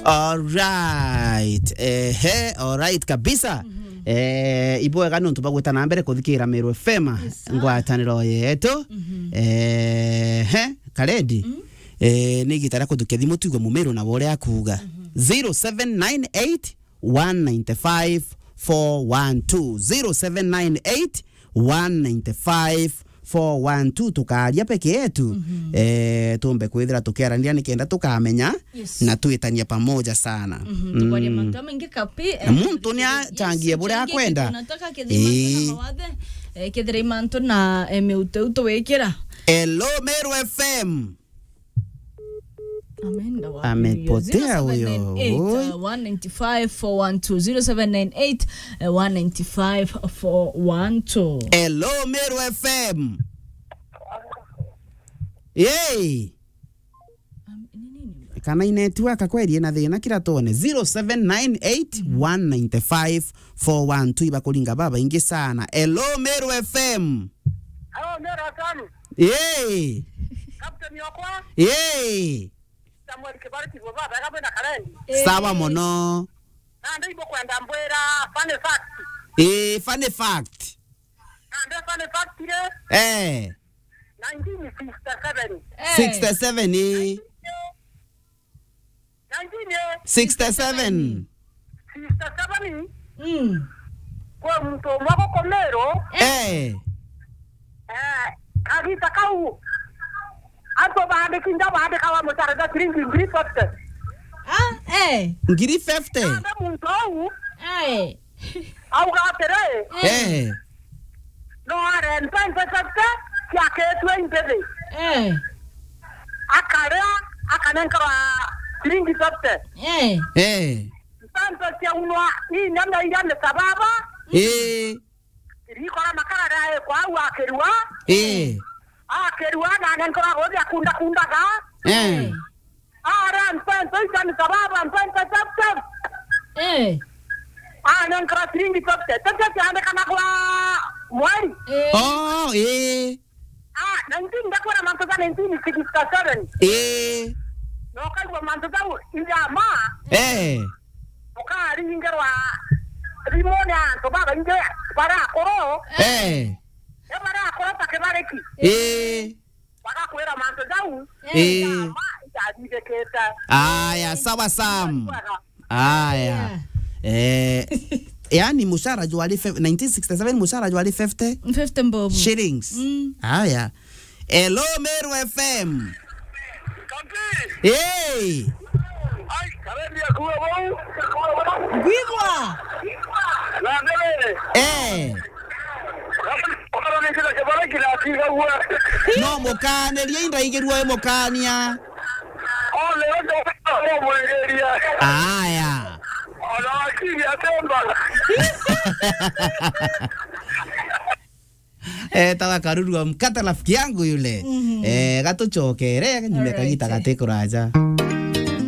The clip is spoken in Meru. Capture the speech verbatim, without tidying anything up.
Alright. Ehe, alright kabisa. Mhm. Eh, ibwega nontu bagwita na mbere kuthikira Meru F M, yes, sir, ngwataniro yetu. Mhm. Ehe, Karedi. Mhm. Eh, ni igita ria kuthukia thimu tuigue Mumeru na uria akuuga. Mhm. Zero seven nine eight, one nine five, four one two. Zero seven nine eight, one nine five, four one two, tukaaria peke yetu. Mhm. Eh, tumbe kwithira tukiaraniria nikenda tukamenya, yes, na twitania pamoja sana. Mhm, tukwaria, mm, mantu jamaingi kapi, na eh, muntu ni, yes, achangie buria achangie akwenda. Kitu nataka kethira imantu na, ii, mawathe, eh, kethira imantu na, eh, miutu iu tuwikira. Hello, Meru F M. Ameenda wapi huyo? Amepotea huyo. Zero seven nine eight, uh, one nine five, four one two. Zero seven nine eight, uh, one nine five, four one two. Hello, Meru F M. Yay! Um, ni nini? Kana i network kweli ina thina, kira tuone. Zero seven nine eight, one nine five, four one two, ibakuringa babaingi sana. Hello, Meru F M. Hello, Meru F M. Yay! Captain Okwa. Yay! Samuel Kibariki, baba, baba, baba, na Karen. Sawa mono. Na ndio ibo kwenda mbwira funny fact. Eh, funny fact. Na ndio funny fact ile. Eh. Nineteen sixty-seven. Eh. Sixty-seven, eh. Nineteen, eh. Sixty-seven. Sixty-seven. Mm. Kwa muntu umwe guku Meru. Eh. Eh, kagita kau. Antu bandiki nja bandikaga mucara ja ciringi ngiri fifty. Ah, eh. Ngiri fifty? Ande muntu au. Eh. Auga atiri, eh, no are mpensa fifty ciaketwe imbithi. Eh. Akaria, akanenkerwa ciringi fifty. Eh. Eh. Mpensa ciaunwa inyanya iria ni sababa. Eh. Irikora makara ria ekwa au akirua. Eh. Akirua na anenkerwa gothi akunda kundaga. Eh. Ara mpensa icio ni sababa, mpensa chap chap. Eh. Anenkerwa ciringi fifty. Tete ciandikana kwa mweri. Eh. Oh, eh. Ah, nineteen, ndakwira mantu ja nineteen sixty-seven. Eh. Na ukaigua mantu jau ijama. Eh. Ukaringerwa thimu ni antu babaingi baria akuru. Eh. Ni baria akuru ta Kibariki. Eh. Bagakwira mantu jau. Eh. Ijama ijathithikite. Aya, sawa Sam. Aya. Eh, yani mushara jwari fif-, nineteen sixty-seven mushara jwari fifty fifty mbobu. Shillings. Mm. Aya. Hello, Meru F M. Hey. Ai, karendi akuwa bau. Gwigwa. Na ndere. Eh. Koro ni kila kibara kila kiga uwe. No mukanirie indaigirua mukania. Ole, ole, ole, mwegeria. Aya. Ona wakili atemba. Eh, tawa karuru wa mkate rafiki yangu yule. Mhm. Eh, gatuchokere, nyume kagita gati kuraja.